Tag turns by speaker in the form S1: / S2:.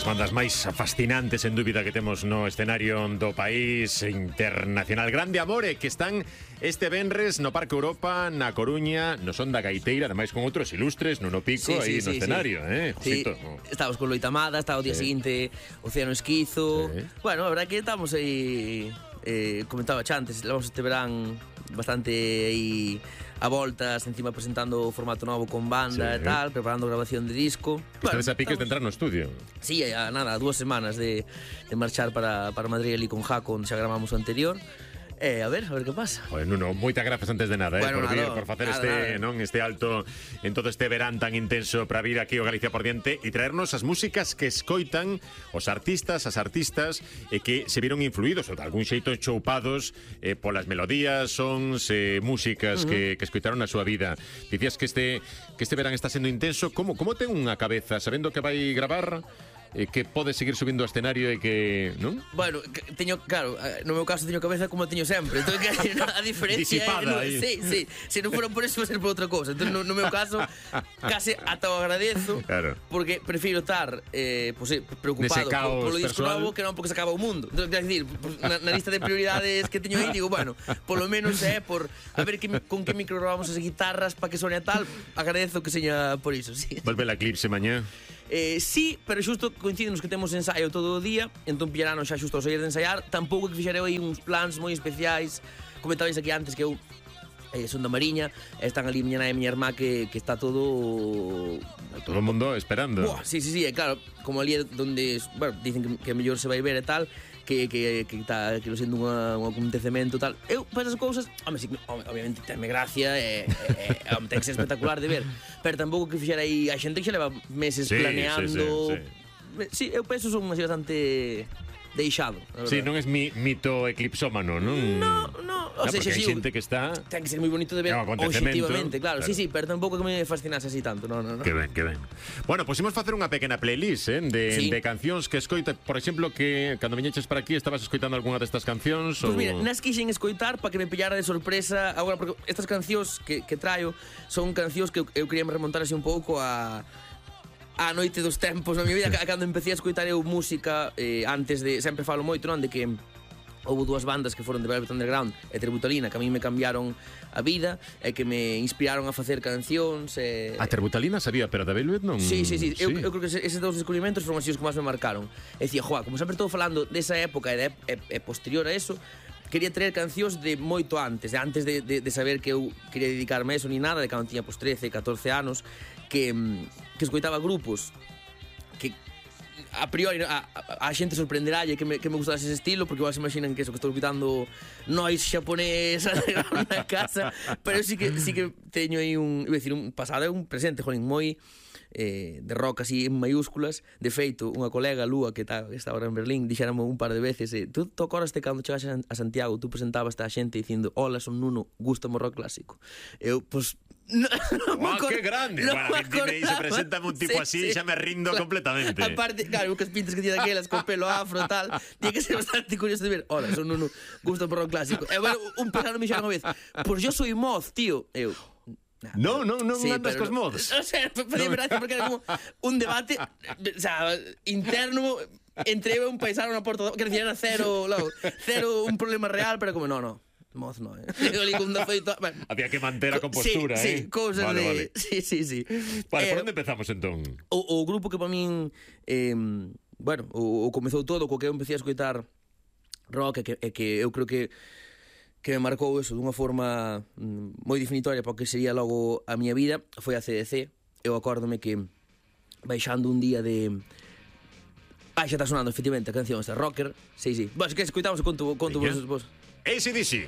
S1: das bandas máis fascinantes, en dúbida, que temos no escenario do país internacional. Grande Amore, que están este venres no Parque Europa, na Coruña, no Son da Gaiteira, ademais con outros ilustres, Nuno Pico, aí no escenario,
S2: Sí, estábamos con Loita Amada, estaba o día seguinte Océano Esquizo. Bueno, a verdade que estamos aí, comentaba xa antes, levamos este verán bastante aí a voltas, encima presentando o formato novo con banda e tal, preparando grabación de disco.
S1: Ustedes a piques de entrar no estudio.
S2: Sí, nada, 2 semanas de marchar para Madrid ali con Jaco, onde xa gravamos o anterior. A ver que pasa.
S1: Joder, Nuno, moitas grazas antes de nada,
S2: bueno,
S1: por vir, por facer este alto en todo este verán tan intenso para vir aquí ao Galicia por diante e traernos as músicas que escoitan os artistas, as artistas que se viron influídos ou de algún xeito choupados polas melodías, sons, músicas que escoitaron na súa vida. Dicías que este verán está sendo intenso. Como ten unha cabeza sabendo que vai gravar? Que pode seguir subindo ao escenario e que, non?
S2: Bueno, claro, no meu caso teño cabeza como teño sempre. Entón, a diferencia
S1: disipada,
S2: sí, se non fora por eso, vai ser por outra cousa. Entón, no meu caso, case ata o agradezo,
S1: claro,
S2: porque prefiro estar preocupado polo disco novo que non porque se acaba o mundo. Entón, quer dizer, na lista de prioridades que teño aí, digo, bueno, polo menos por a ver con que micro grabamos as guitarras para que sone a tal, agradezo que seña por iso, sí.
S1: Volve a Eclipse mañá?
S2: Sí, pero xusto coincidenos que temos ensaio todo o día, entón pillaranos xa xusto ao sair de ensaiar. Tampouco que fixarei aí uns plans moi especiais. Comentabais aquí antes que eu son da Mariña, están ali miña nai e miña irmá que está todo
S1: o mundo esperando.
S2: Buah, sí, claro, como ali é donde, bueno, dicen que mellor se vai ver e tal, que lo sendo un acontecemento tal. Eu, para esas cousas, obviamente tenme gracia ten que ser espectacular de ver, pero tampouco que fixera aí a xente que xa leva meses planeando. Sí, eu penso son así bastante deixado.
S1: Sí, non es mito eclipsómano, non?
S2: No, o sea,
S1: porque hai xente que está...
S2: Ten que ser moi bonito de ver obxectivamente, claro. Sí, pero tampouco que me fascinase así tanto, no.
S1: Que ben. Bueno, pues imos facer unha pequena playlist de cancións que escoita. Por exemplo, que cando viñeches para aquí estabas escoitando algunha destas cancións?
S2: Pois mira, nas quixen escoitar para que me pillara de sorpresa agora, porque estas cancións que traio son cancións que eu quería me remontar así un pouco a noite dos tempos na miña vida, cando empecé a escoitar eu música, antes de, sempre falo moito, non, de que houve 2 bandas que foron de Velvet Underground e Terbutalina, que a mí me cambiaron a vida e que me inspiraron a facer cancións.
S1: A Terbutalina sabía, pero da Velvet non...
S2: Sí. Eu creo que eses 2 descubrimentos foron así os que máis me marcaron. E dicía, como sempre estou falando desa época e posterior a eso, quería traer cancións de moito antes de saber que eu quería dedicarme a eso ni nada, de cando tiña 13, 14 anos, que escoitaba grupos que a priori a xente sorprenderalle que me gustase ese estilo, porque igual se imaginan que eso que estou escoitando noise xaponés na casa, pero sí que teño aí un pasado e un presente, moi de rock así en mayúsculas. De feito, unha colega, Lúa, que está ahora en Berlín, dixérame un par de veces, tú acordaste cando chegaste a Santiago, tú presentabas a xente dicindo, hola, son Nuno, gústame o rock clásico. Eu, pues,
S1: que grande. Bueno, se presenta un tipo así, xa me rindo completamente.
S2: Aparte, claro, que as pintas que tiene daquelas con pelo afro e tal, tiene que ser bastante curioso de ver. Hola, son Nuno, gústame o rock clásico. E bueno, un pesado me xeron unha vez, pues yo soy moz, tío. Eu,
S1: non andas cos mods.
S2: O sea, podía verdade porque era como un debate, o sea, interno entre eu e un paisano na porta, que decía era cero un problema real, pero como no. Moz no,
S1: Había que manter a compostura,
S2: sí, cousas
S1: vale.
S2: Sí.
S1: Vale, por onde empezamos entón?
S2: O grupo que para min bueno, o comezou todo co que eu empecé a escoitar rock e que eu creo que me marcou eso dunha forma moi definitoria para o que sería logo a miña vida, foi a CDC. Eu acórdome que baixando un día de... xa está sonando efectivamente a canción esta, Rocker. Sí. Bueno, que escoitamos e conto vos.
S1: AC/DC.